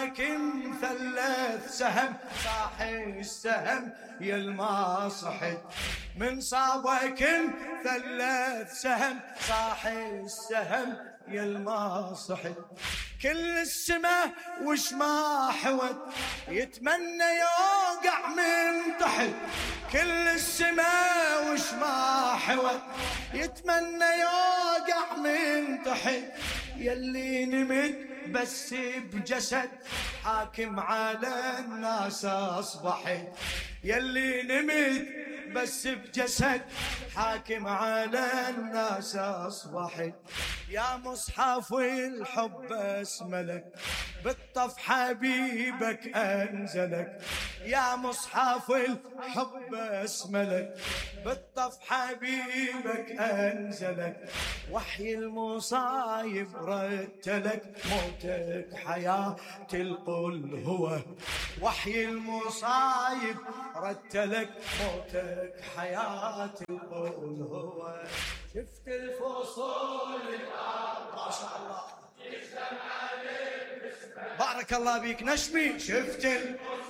صابك مثلث سهم صاحي السهم يا الما صحت، من صابك مثلث سهم صاحي السهم يا الما صحت. كل السما وش ما حوت يتمنى يوقع من تحت، كل السما وش ما حوت يتمنى يوقع من تحت. يلي نمت بس بجسد حاكم على الناس أصبحت، يلي نمت بس بجسد حاكم على الناس أصبحت. يا مصحف الحب اسملك بالطف حبيبك أنزلك، يا مصحف الحب اسملك بالطف حبيبك أنزلك. وحي المصايب رتلك موتك حياة القل هو، وحي المصايب رتلك موتك حياة القل هو. شفت الفصول ما شاء الله بارك الله بيك نشمي، شفت الفصول